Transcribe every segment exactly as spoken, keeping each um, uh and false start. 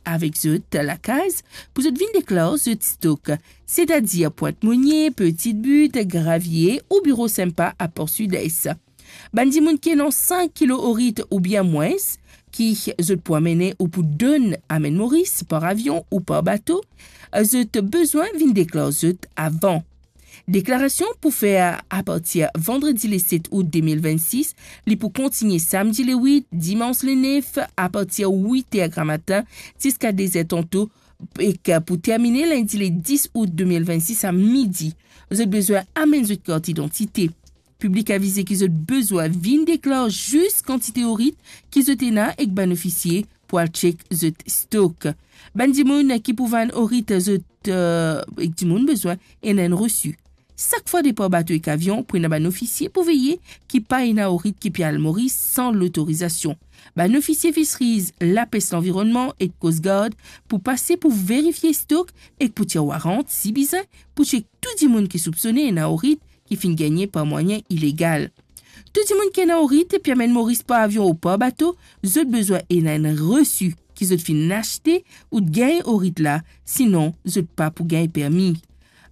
avek zot lakaz pou zot vinn deklar zot stok, setadir Pwint Monie, Petite Butte, Gravier ou biro Sympa a Port Sud-Est. Bann dimoun ki ena sink kilo orit oubien mwins, ki zot pou amene ou pou donn amenn Moris par avion ou par bato, zot bizin vinn deklar zot avan. Deklarasion pou fer apartir vandredi le set out de mil vennsis, li pou kontigne samdi le wit, dimans le nef, apartir wit er gramatin ziska de zer tanto, ek pou termine lindi le dis out de mil vennsis a midi. Zot bizin amenn zot kart idantite. Piblik avize ki zot bizin vinn deklar zis kantite orit ki zot ena ek bann ofisie pou al chek zot stok. Bann dimoun ki pou vann orit zot, eh, ek dimoun bizin ena enn resi. Sak fwa depar bato ek avion, pou ena bann ofisie pou veye ki pa ena orit ki pe al Moris san lotorizasion. Bann ofisie Fisheries, Lapes Lanvironnman ek Coast Guard pou pase pou verifie stok ek pou tir warant, si bizin, pou chek tou dimoun ki soupsone ena orit ki finn gagne par mwayin ilegal. Tou dimoun ki ena orit pe amenn Moris par avion ou par bato, zot bizin ena enn resi ki zot finn aste ou gagn orit la, sinon zot pa pou gagn permi.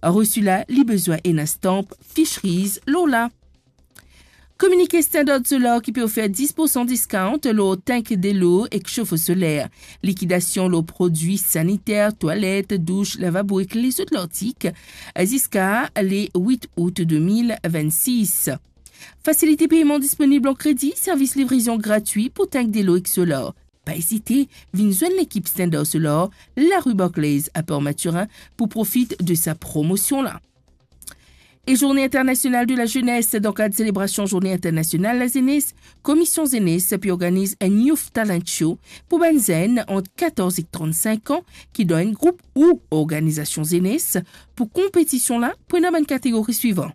Resi la, li bizin ena stanp Fisheries lor la. Kominike Standard Solar ki pe ofer dis poursan discount lor tank delo ek sofo soler. Likidasion lor prodwi saniter, twalet, douch, lavabo ek lezot lartik, ziska le wit out de mil vennsis. Fasilite peyman disponib an kredi, servis livraison gratwi pou tank delo ek solar. Pa ezite, vinn zwenn lekip Standard Solar, lari Barclays a Port Mathurin pou profit de sa promosion la. E Journée Internationale de la Jeunesse, dan kad selebrasion Journée Internationale la Jeunesse, Komision Zenes pe organiz enn Youth Talent Show pou bann zenn ant katorz ek trannsink an ki dan enn group ou organizasion zenes. Pou konpetision la, pou ena bann kategori swivan: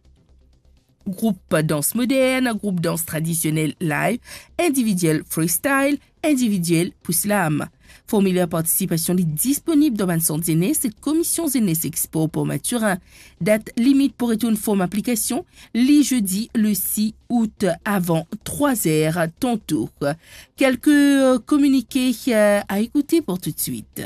group dans modern, group dans tradisionel live, individiel freestyle, individiel pou slam. Formiler partisipasion li disponib dan bann sant zenes Komision Zenes ek Spor Port Mathurin. Dat limit pou retourn form aplikasion, li zedi le sis out avan trwa zer tanto. Kelke, euh, kominike, euh, a ekoute pou toutswit.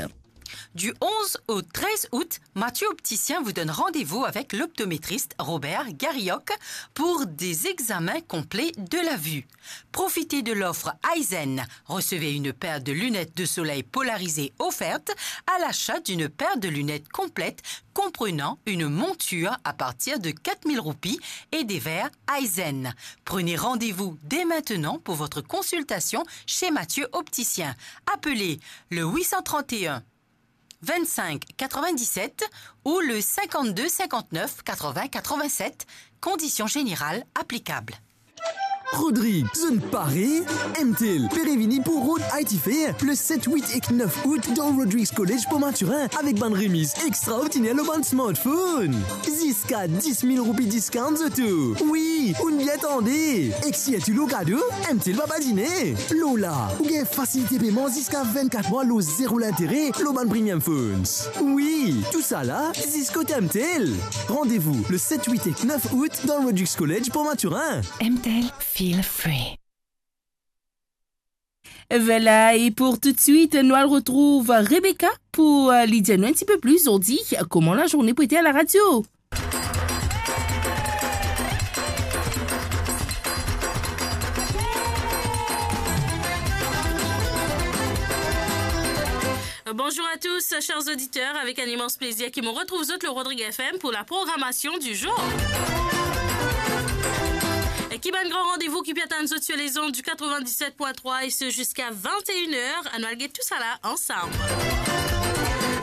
Du onze au treize août, Mathieu Opticien vous donne rendez-vous avec l'optométriste Robert Garioc pour des examens complets de la vue. Profitez de l'offre Eyezen. Recevez une paire de lunettes de soleil polarisées offerte à l'achat d'une paire de lunettes complètes comprenant une monture à partir de quatre mille roupies et des verres Eyezen. Prenez rendez-vous dès maintenant pour votre consultation chez Mathieu Opticien. Appelez le huit cent trente et un vingt-cinq quatre-vingt-dix-sept ou le cinquante-deux cinquante-neuf quatre-vingts quatre-vingt-sept, conditions générales applicables. Rodrig, zot pare? M T L pe revini pou Road I T Fair le set, wit ek nef out dan Rodrigues College Port Mathurin avek bann remiz extraordiner lor bann smartphone. Ziska dis mil roupi discount zot tou. Wi, ou'nn bien tande. Ek sirtou lor kado, M T L pa badine. Lor la, ou gagn fasilite peyman ziska vennkat mwa lor zero lintere lor bann premium phones. Wi, tousala zis kot M T L. Randevou le set, wit ek nef out dan Rodrigues College Port Mathurin. M T L, feel free. Vwala, e pou toutswit, nou al retrouv Rebecca pou, euh, li dir nou enn tipe plis zordi kouma lazourne pou ete a laradio. Bonjour à tous, chers auditeurs, avec un immense plaisir ki mo retrouv zot lor Rodrigues F M pour la programmation du jour. E ki bann gran randevou ki pe atann zot sur les ondes du quatre-vingt-dix-sept point trois et ce jusqu'à vingt et une heures. Anou al get tousala ansam.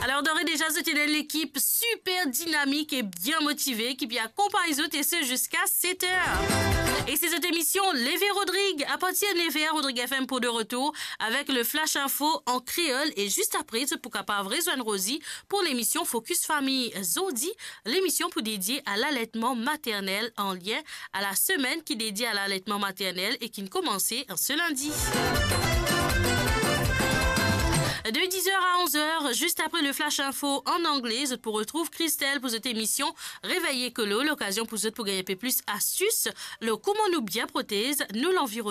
Alors, d'ores et déjà, zot ena enn lekip super dinamik e bien motive ki pe akonpagn zot, e ce jusqu'à sept heures. E se zot emision Leve Rodrig, à partir de neuf heures, Rodrigues F M pour de retour avec le Flash Info en créole. E zis apre, zot pou kapav rezwenn Rosie pour l'émission Focus Famille. Zordi, lemision pou dedie a laletman maternel an lien a la semenn ki dedie a laletman maternel e ki'nn koumanse se lindi. De dix heures à onze heures, juste après le Flash Info en anglais, zot pou retrouv Christelle pour zot emision Réveil Écolo, lokazion pou zot pou gagn enpe plis astis lor kouma nou bien protez nou lanvironman.